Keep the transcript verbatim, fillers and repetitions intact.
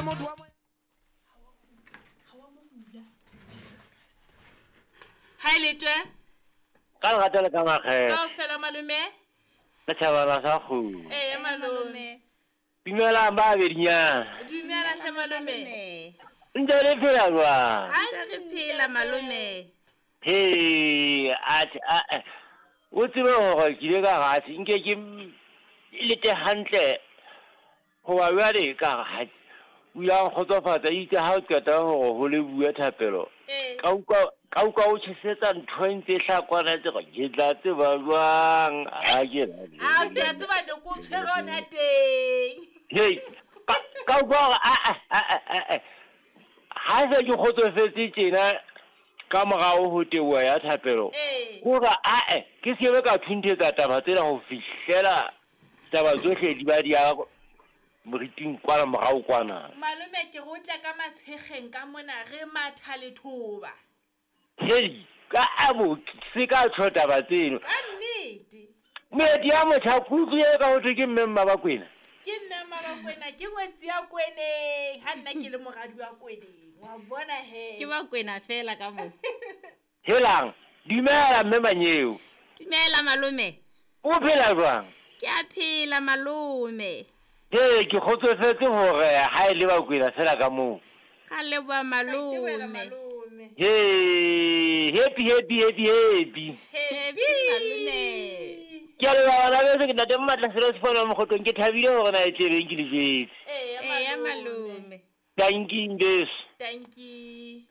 motho wa moya. Hi Letwe. Ka lerato le ka makgetho. Kaofela malome. Setjhabana sa kgomo. Ee malome. Dumelang ba bedinyana. Dumela hle malome. Ntse le phela jwang? Ntse re phela malome. He, atjhe a o tsebe hore ke ile ka ratse nke ke lete hantle hoba jwale ka re o ile a nkgotsofatsa itse ha o qeta hore ho le bue thapelo. Ka utlwa ka utlwa o tjhesetsa ntho e ntse hlakwana tse re ke tla tseba jwang ha ke A ke a tseba ne ko tshwere hona teng. Hei, ka ka utlwa hore a a a ha se ke kgotsofetse tjena ka morao ho teboho ya thapelo. Hore a e ke se be ka thunthetsa taba tsena ho fihlela taba tsohle di ba di ya moriting kwana morao kwana. Malome ke re o tla ka matshegeng ka mona re matha lethoba. Hei, ka abo se ka tjho taba tseno. Ka nnete. Moeti ya motjha kutlwe ka ho thwe ke mme Mmabakwena. Ke mme Mmabakwena ke ngwetsi ya Kweneng ha nna ke le moradi wa Kweneng. Wa bona he. Ke ba Kwena fela ka mo. Helang, dumela mme Manyeo. Dumela malome. O phela jwang? Ke a phela malome. He, ke kgotsofetse hore ha e le Bakwena fela ka moo. Ga leboha malome. He, happy happy happy happy. Happy malome. Ke a leboha bana beso ke ntate Mmatla Selo Sefolo Mokgotlong ke thabile hore na e tlebeng ke le jwetse. Eya malome. Thank you beso. Thank you.